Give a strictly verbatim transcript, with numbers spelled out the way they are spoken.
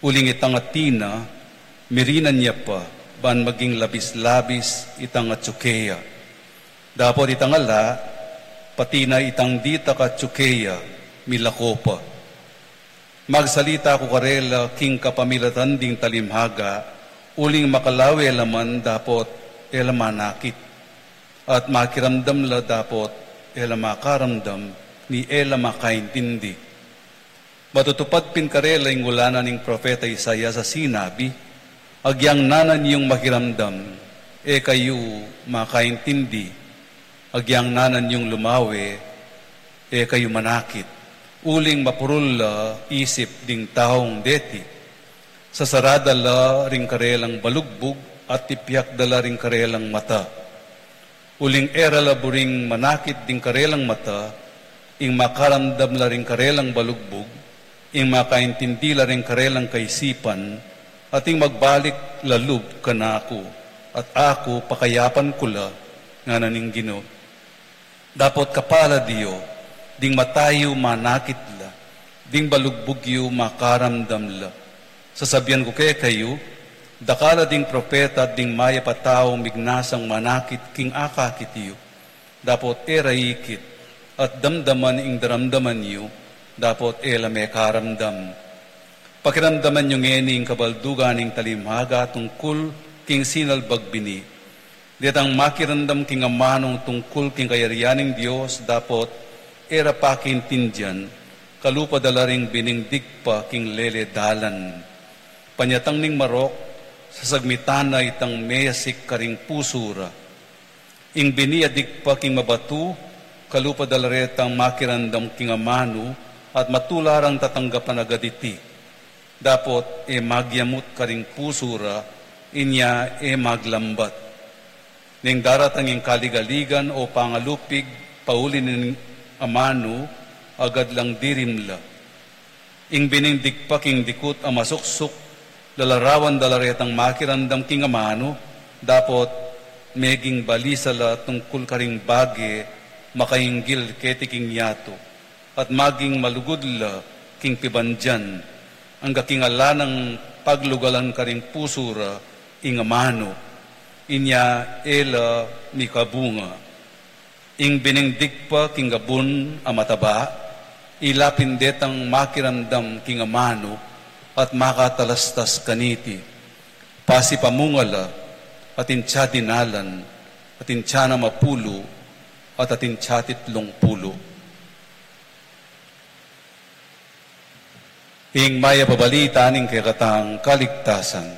Uling itang atin na, mirinan ya pa, ban maging labis-labis itang atsu keya. Dapot itang ala, pati na itang ditak atsu keya, milako pa. Magsalita ku karela king kapamilatan ding talimhaga, uling makalawe la man dapot e la manakit, at makiramdam la dapot e la makaramdam, ni e la makaintindi. Matutupad pin karela ing ulanan ning propeta Isaias a sinabi, "Agyang nanan yung makiramdam, e kayu makaintindi. Agyang nanan yung lumawe, e kayu manakit. Uling mapurul la isip ding taung deti. Sasarada la ring karelang balugbug at tipiak da la ring karelang mata. Uling e ra la buring manakit ding karelang mata, ing makaramdam la ring karelang balugbug, ing makaintindi la ring karelang kaisipan, at ing magbalik la lub kanaku, at aku pakayapan ku la, ngana ning Ginu." Dapot kapalad yu, ding mata yu manakit la, ding balugbug yu makaramdam la. Sasabian ku kekayu, dakal a ding propeta at ding mayap a taung mignasang manakit king akakit yu, dapot e ra ikit, at damdaman ing daramdaman yu, dapot e la mekaramdam. Pakiramdaman yu ngeni ing kabaldugan ning talimhaga tungkul king sinalbag bini. Detang makiramdam king amanu tungkul king kayarian ning Dios, dapot e ra pakaintindian, kalupa da la ring bining digpa king lele dalan. Panyatang ning marok, sasagmitan na itang meyasik karing pusu ra. Ing bini a digpa king mabatu, kalupa da la retang makiramdam king amanu, at matula rang tatanggapan agad iti. Dapot e magyamut karing pusu ra, inya e maglambat. Neng daratang ing kaligaligan o pangalupig pauli ning amanu, agad lang dirim la. Ing bining digpa king dikut a masuksuk, lalarawan da la retang makiramdam king amanu, dapot meging balisa la tungkul karing bage makainggil keti king yatu, at maging malugud la king pibandian, angga king ala nang paglugalan karing pusu ra ing amanu, inya e la mikabunga. Ing bining digpa king abun a mataba, ila pin detang makiramdam king amanu at makatalastas kaniti. Pasipamunga la, atin tsa dinalan, atin tsa na mapulu, at atin tsa titlung pulu. Ing mayap a balita ning kekatang kaligtasan.